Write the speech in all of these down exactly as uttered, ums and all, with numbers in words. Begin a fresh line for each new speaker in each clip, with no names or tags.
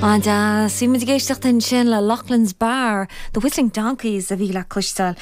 An-deas bhí muid ag éisteacht ansin le Loughlin's Bar, The Whistling Donkeys a bhí le cloisteáil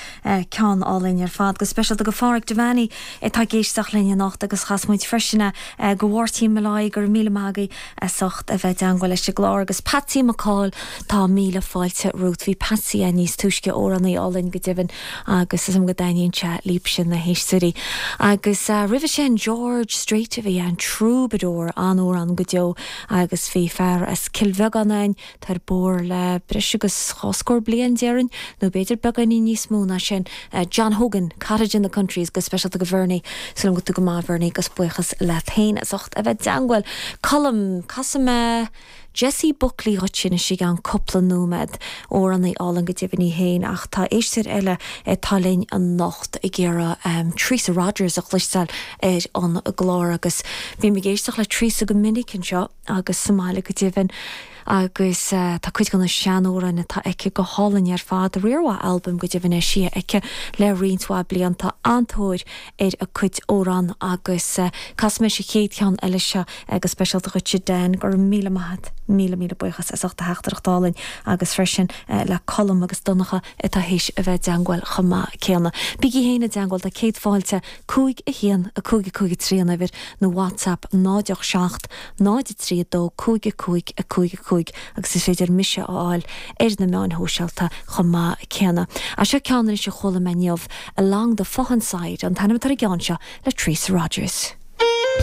ceann álainn ar fad go speisialta go Phádraig Devaney atá ag éisteacht linn anocht agus chas muid freisin go Mháirtín Molloy go raibh míle maith agaibh as ucht a bheith i dteagmháil leis an gclár agus Patsy McCall tá míle fáilte romhat bhí Patsy a níos túisce amhránaí álainn go deimhin agus is go dtaitníonn sé libhse na héisteoirí. Agus uh, roimhe sin George Strait a bhí an Troubadour an-amhrán go deo agus bhí fear as Cill Bheagáin tar bór le breis agus dhá scór bliain déarfainn nó b'fhéidir beagáinín níos mó ná sin uh, John Hogan Cottage in the Country go speisialta go Vernie Súil go go maith Vernie gus buíochas le féin as ucht a bheith i dteagmháil. Colm casfaidh mé Jessie Buckley dhuit sin i gceann cúpla nóiméad amhránaí álainn go deimhin í féin ach tá éisteoir eile atá linn anocht ag iarraidh um, Teresa Rogers a chloisteáil ar an gclár agus bhí ag éisteacht le Teresa go minic anseo agus sa mbaile go deimhin agus uh, tá cuid de na seanamhráin atá aici go hálainn ar fad riar albam go deimhin sí aici le roinnt mhaith blianta an-tóir ar a cuid amhrán agus uh, casfaidh mé an chéad cheann eile seo agus speisialta dhuit den gur míle maith míle míle buíochas as ucht a theachtaireacht álainn agus freisin uh, le Colm agus Donncha atá théis a bheith i dteagmháil chomh maith céanna. Bígí féin i dteagmháil tá céad fáilte cúig a haon a cúig a cúig trí an uimhir nó WhatsApp náid seacht náid trí dó cúig a cúig a cúig a cúig agus is féidir mise a fháil ar na meáin shóisialta chomh maith céanna. A seo ceann a chuala mé inniu Along the Faughan Side an t-ainm atá ar an gceann seo le Teresa Rogers.